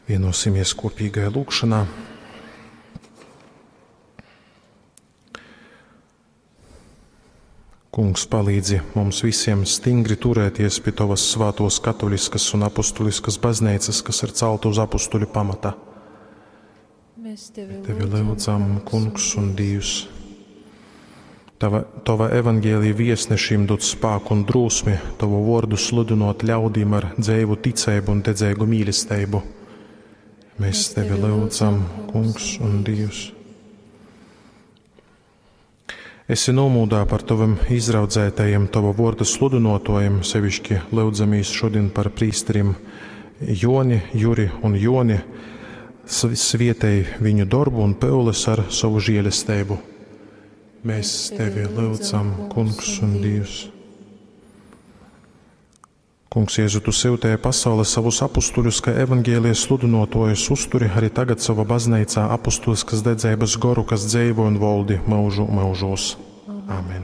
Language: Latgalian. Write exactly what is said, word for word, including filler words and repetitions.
Vienosimies kopīgajā lūgšanā. Kungs, palīdzi mums visiem stingri turēties pie Tavas svātos katoliskas un apustuliskas baznīcas, kas ir celta uz apustuļu pamata. Mēs tevi, Tevi lūdzam, Kungs un Dievs. Tava, tava evaņģēlija viesnešiem dod spāku un drosmi, Tavu vārdu sludinot ļaudīm ar dzeivu ticību un dedzīgu mīlestību. Mēs Tevi lūdzam, Kungs un Dievs. Esi nomūdā par Taviem izraudzētajiem, Tava vārda sludinotojiem, sevišķi lūdzamies šodien par prīsteriem Joni, Juri un Joni, svietēji viņu darbu un pyules ar savu žēlestību. Mēs Tevi lūdzam, Kungs un Dievs. Kungs, Jēzu, Tu sūtīji pasaulē savus apustuļus, kā evaņģēlijas sludinotojus, uzturi arī tagad savā baznīcā apustuliskas dedzības goru, kas dzīvo un valdi mūžu mūžos. Amen.